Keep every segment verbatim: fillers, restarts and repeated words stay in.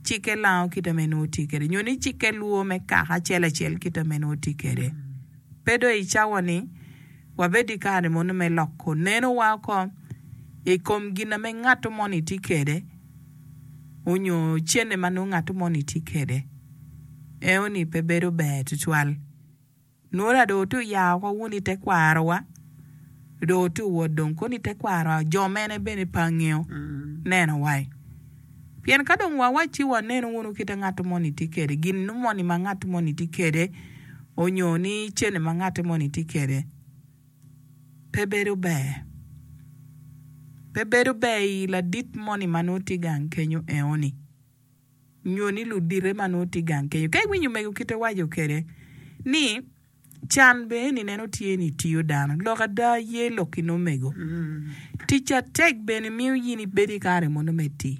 Cikke lango kite me nongo tye kwede nyo ni cikke lwo me kaka acel acel kite me nongo tye kwede. Pe dong i cawa-ni wabed i kare mono me loko nenowa oko i kom gin ma ngat moni tye kwede onyo cene ma nongo ngat moni tye kwede. Eno-ni pe bedo ber tutwal. Nongo dong otye oya oko wun i tekwarowa dong otye owot dong kono i tekwarowa jo mene bene pe angeyo neno wai. Pien ka dong wawacci waneno wunu kite ngat moni tye kwede gin moni ma ngat moni tye kwede onyo ni cene ma ngat moni tye kwede pe bedo ber. Pe bedo ber i ladit moni ma nongo tye gang kenyo enoni nyo ni ludite ma nongo tye gang kenyo. Ka iwinyo omego kite waco kwede ni can bene ni neno tye ni tiyo dano lok ada ye lok ki omego. Tic atek bene miyo in ibedo i kare mono me tii.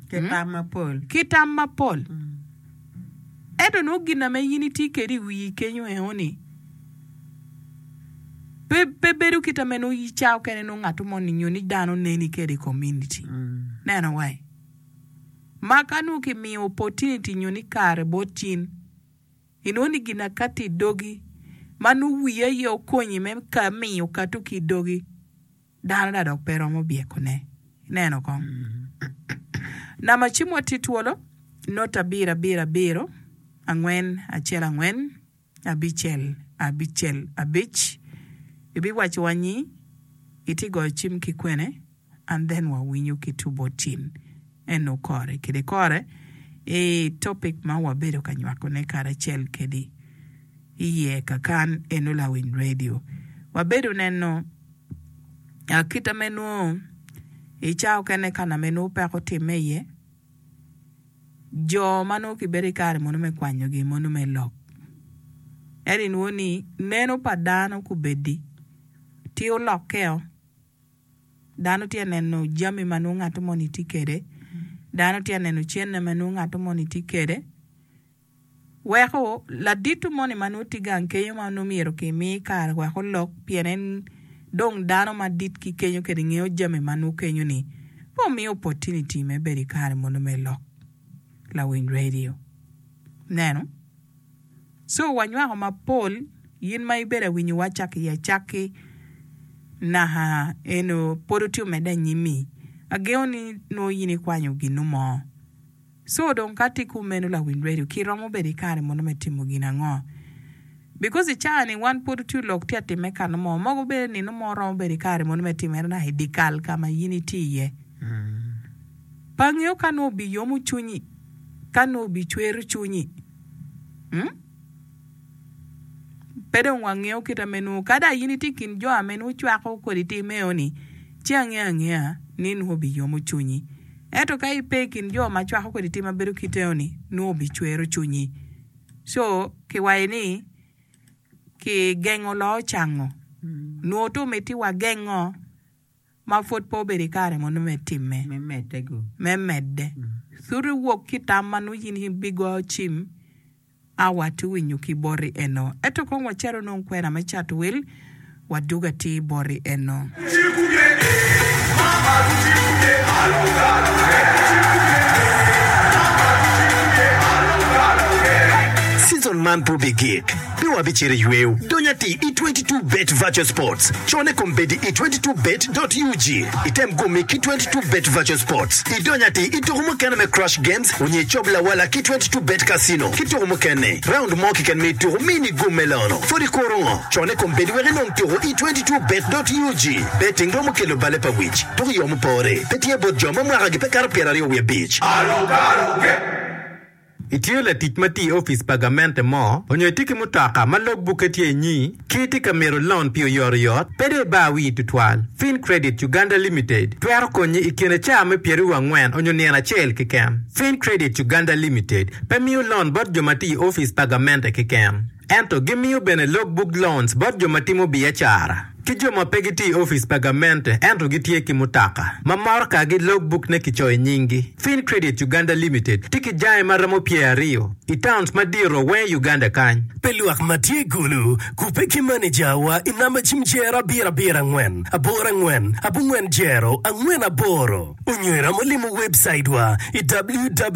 Ki tam mapol. Ki tam mapol. Ento nongo gin na me in itye kwede i wii kenyo enoni pe, pe bedo kite me nongo ca okene nongo ngat moni nyo ni dano neni kwede i community. Neno wai. Ma ka nongo kimiyo opportunity nyo ni kare bot in inongo ni gin akati i dogi ma nongo wiyi aye okonyi me ka miyo kato ki i dogi dano da dok pe romo byekone. Ineno kong. Namba cimwa tye twolo not abiro abiro abiro angwen acel angwen abicel abicel abic ibiwacowa ni itye goyo cim ki kwene and then wawinyo ki tubo tin eno kore kede kore i topic ma wabedo ka nywakone karacel kedi iye kakan eno lawiny radio wabedo neno kita me nongo i cawa okene ka na me nongo peko timme iye jo ma nongo kibedo i kare mono me kwanyogi mono me lok ento inwongo ni neno pa dano kubedi tye olokkeo dano tye neno jami ma nongo ngat moni tye kwede dano tye neno cene ma nongo ngat moni tye kwede weko ladit moni ma nongo tye gang kenyo ma nongo myero kimi kare wek olok pien en dong dano madit ki kenyo kede ngeyo jami ma nongo kenyo ni pe omiyo opportunity me bedo i kare mono me lok lawiny radio neno so wanywako mapol in ma ibedo awinyowa cako i acakki naka eno pod otye omedde anyimmi agengo ni nongo in ikwanyo gino mo so dong ka tye kumeno lawiny radio kiromo bedo i kare mono me timo gin ango because i cawa ni wan pod otye lok tye atime kano mo mogo bedo nino mo romo bedo i kare mono me timere naka i dikal ka ma in itye iye pe angeyo ka nongo obiyomo cwinyi ka nongo obicwero cwinyi hmm? pe dong wangeyo kite me nongo kada in itye i kin jo ame nongo cwako kodi tim eo-ni ci angeyo angeya ni nongo obiyomo cwinyi ento ka ipe i kin jo ma cwako kodi tim ma bedo kite eo-ni nongo obicwero cwinyi so kiwaco ni kigengo loo cango nongo to miti wagengo ma pwod pe obedo i kare mono me timme Me medde gu. me medde thuti wok ki tam ma nongo in ibigoyo cim awa ti winyo ki boti eno ento kong wacito nongo kwena me cato wil waduga atir boti eno Season man pe obigik pe wabicito i yweo dony atir i twenty two bet virtual sports cone kombeddi i twenty two bet ug item gumi ki twenty two bet virtual sports idony atir i tuko mukene me crash games onyo icob lawala ki twenty two bet casino ki tuko mukene round mo keken me ituko mini gum me lono pwod ikuro ngo cone kombeddi wek inong tuko i twenty two bet ug betting romo kelo bale pa wic tuko i yo mupore pe tye bot jo ma mwakagi pe kato pyeraryo wiye abic. Itye latic ma tye i opic pa gamente mo onyo itye ki mutoka ma logbukke tye inyi ki itye ka mito loan pi oyotoyot pe dong ibar wii tutwal Fin Credit Uganda Limited twero konyi i kine caa me pyeraryo angwen onyo nino acel keken Fin Credit Uganda Limited pe miyo loan bot jo ma tye i opic pa gamente keken ento gimiyo bene logbook loans bot jo ma timo biacara ki jo ma pe gitye i opic pa gamente ento gitye ki mutoka ma motokagi logbook ne kicoyo i nyinggi Fin Credit Uganda Limited tye ki jange ma romo pyeraryo i towns madito weng i Uganda kany Pe lwak ma tye gulu kupe ki manejawa i namba cim jero abiro abiro angwen aboro angwen abongwen jero angwen aboro onyo iromo limo website wa i www.